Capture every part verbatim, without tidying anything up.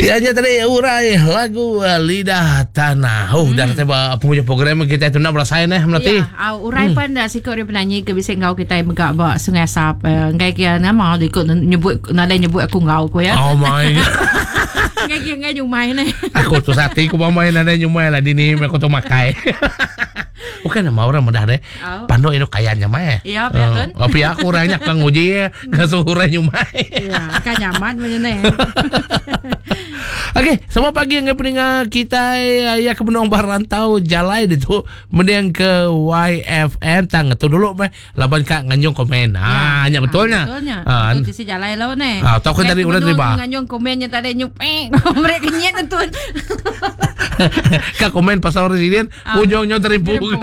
Ya nya tadi urai lagu uh, Lidah Tanah. Oh, hmm. dah kata ba penghujung program kita tu nak berasai neh melati. Ya, au urai hmm. pan dah sikut dia penyanyi ke bisa ngau kita megak ba Sungai Asap. Uh, ngai kia nama dia ikut nyebut nadai nyebut aku ngau ku ya. Oh my. Ngai kia ngai nyumai neh. Aku tu sati ku mamai nadai nyumai lah dini aku tu makai. Bukan nama orang mudah deh. Oh. Panduk itu kaya nyamai. Ya, pihak kan? Oh, pihak aku orangnya kang uji ngasuh orang nyumai. Ya, kan nyaman macam ni. Okey, selamat pagi yang pendengar kita ya ke benung barantau jalai itu mending ke Y F M tang tu dulu meh laban kak nganjung komen. Ah, ya, betulnya. Betulnya. Ah, tu sisi jalai lau ni. Ah, tahu kan tadi udah terima. Nganjung komennya tadi nyupek. Mereka kenyit tu. Kak komen pasal residen ujungnya terimpu.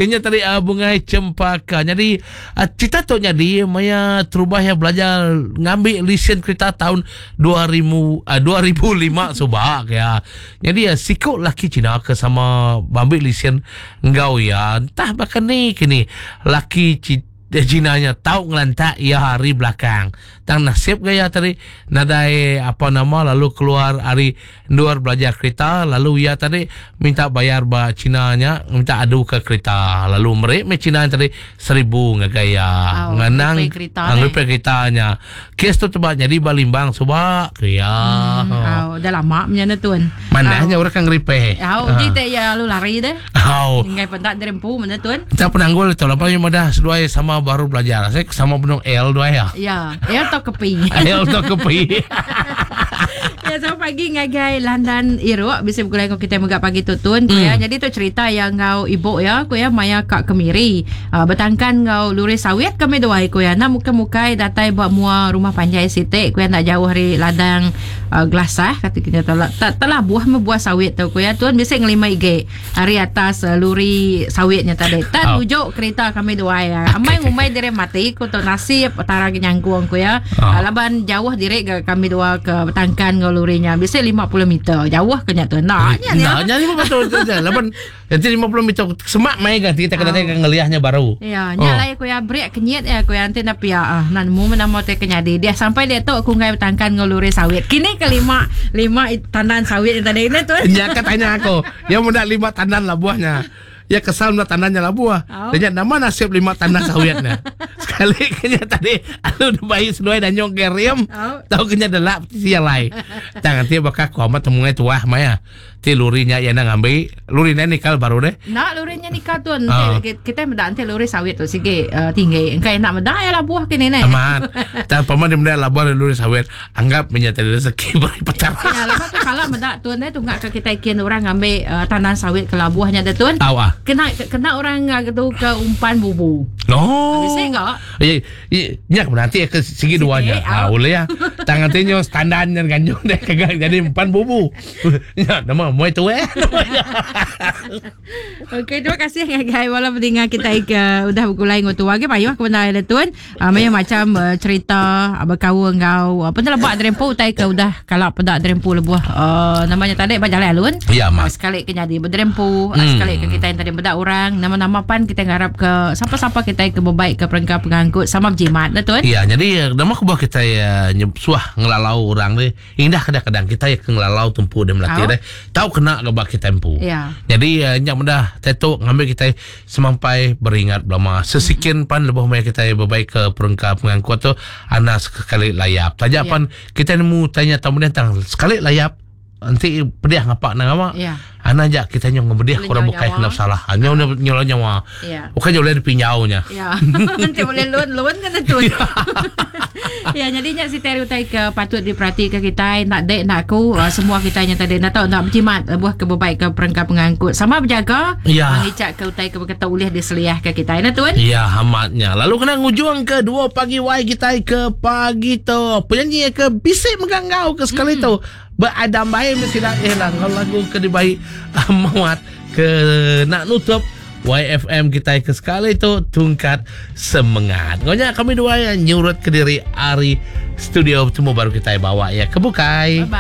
Ini tadi uh, bungai cempaka. Jadi uh, cerita tu jadi maya terubah yang belajar ngambil lesen kereta tahun dua ribu uh, dua ribu lima subak ya. Jadi uh, sikut laki Cina ke sama ambil lesen ngau ya. Entah bahkan ni kini laki Cina Cinanya tahu ngelantak ya hari belakang. Tang nasib gaya tadi nadai apa nama lalu keluar hari luar belajar kereta lalu ia tadi minta bayar ba Cinanya minta adu ke kereta lalu merek me Cina tadi seribu ngagaya oh, ngenang repair keretanya. Kes tu tebak jadi balimbang subak ya. Hmm, oh, dah lama punya tuan. Mananya oh. Orang kan repair. Oh, ha. Jadi ya lu lari deh. Oh. Ngai pentak derempu mana tuan. Tak penanggul tu lepas yang dah seduai sama baru belajar. Saya sama penuh L dua ya. Ya, L atau kepi. L atau kepi. Ya, selamat pagi ngagai Landan Iruk bisa bergulai dengan kita megak pagi tutun mm. ya. Jadi tu cerita yang ngau ibu ya, ku ya maya kak kemiri. Uh, bertangkan ngau luri sawit kami dua ku ya. Nak muka-mukai datai buat mua rumah panjai sitik ku ya nak jauh hari ladang uh, gelasah kata kita telah tak telah buah membuah sawit tu ku ya. Tuan bisa ngelima ige hari atas uh, luri sawitnya tadi. Tak oh. Ujuk kereta kami dua ya. Amai ngumai dire mati ku tu nasib tara nyangkung ku ya. Oh. Uh, laban jauh direk ke kami dua ke bertangkan ngau lurinya bisa lima puluh meter jauh kena tu nak nya nak nya lima puluh meter laban nanti lima puluh meter semak mai kan kita kena oh. Ngeliahnya baru ya nya lai ku ya break kenyit ya ku ya nanti nak pia ah nan mu nama te kenyadi dia sampai dia tu aku ngai bertangkan ngau luri sawit kini kelima lima tandan sawit yang tadi ni tu nya katanya aku yang muda lima tandan lah buahnya. Ya kesal mula tandannya lah buah. Oh. Dia nama nasib lima tandan sawitnya. Sekali kena tadi alu bayi seduai dan nyong keriam. Oh. Tahu kena delap si lai. Tangan dia bakal ku amat temungai tuah maya. Ti lurinya ya nak ngambil lurinya nikal baru deh. Nak lurinya nikal tuan. Oh. Kita mendak nanti luri sawit tu sikit uh, tinggi. Engkau nak mendak ya lah buah kini ni. Aman. Dan paman dia mendak lah buah luri sawit. Anggap menyata rezeki beri petar. Ya lepas tu kalau mendak tuan ni tunggak ke kita ikin orang ngambil uh, tandan sawit ke lah buahnya dah tuan. Tahu ah. Kena kena orang tu ke umpan bubu. No. Bisa enggak? Ya, ya, nanti ke segi duanya. Ah, boleh ya. Tangan tinyo standarnya ganjung deh kagak jadi umpan bubu. Ya, nama mau itu eh. Okey, terima kasih guys wala pendengar kita ke udah bergulai ngau tu. Bagi payuh ke benda ada tuan. Uh, macam macam uh, cerita uh, berkawan ngau apa telebak derempu utai ke udah kalau pedak derempu lebuh uh, namanya tadi bajalan alun. Ya, mak. Uh, sekali ke jadi berderempu, hmm. uh, sekali ke kita yang tadi bedak orang nama-nama pan kita ngarap ke siapa-siapa kita ke berbaik ke perengka pengangkut sama berjimat dah tuan. Ya, jadi nama aku buat kita ya suah ngelalau orang ni. Indah kadang-kadang kita ya ngelalau tumpu dia melatih oh. Deh. Tahu kena ke bak kita tempu. Ya. Jadi uh, nyak mudah tetuk ngambil kita semampai beringat belama. Sesikin pan lebih maya kita berbaik ke perengka pengangkut tu anak sekali layap. Tajak Ya. pan kita nemu tanya tamu dia tentang sekali layap nanti pedih ngapak nang awak. Ya. Anak jak kita nyong ngebedih Boleh korang nyawa bukai nyawa. kena salah. Hanya nyolong nyawa. Ya. Bukan boleh dipinjaunya. Ya. Nanti boleh loan loan kan tu. Ya, jadinya si Terry utai ke patut diperhatikan kita nak dek nak aku uh, semua kita yang tadi nak tahu nak berjimat uh, buah ke berbaik ke perengka pengangkut sama berjaga Ya. mengicak ke utai ke berkata ulih diseliah ke kita nah tuan. Ya, hamatnya. Lalu kena ngujung ke dua pagi wai kita ke pagi tu. Penyanyi ke bisik menggangau ke sekali hmm. tu. Beradam baik mesti dah eh lah kalau lagu ke dibaik muat ke nak nutup Y F M kita ke sekali tu tungkat semangat. Ngonya kami dua yang nyurut ke diri ari studio temu baru kita bawa ya ke bukai. Bye bye.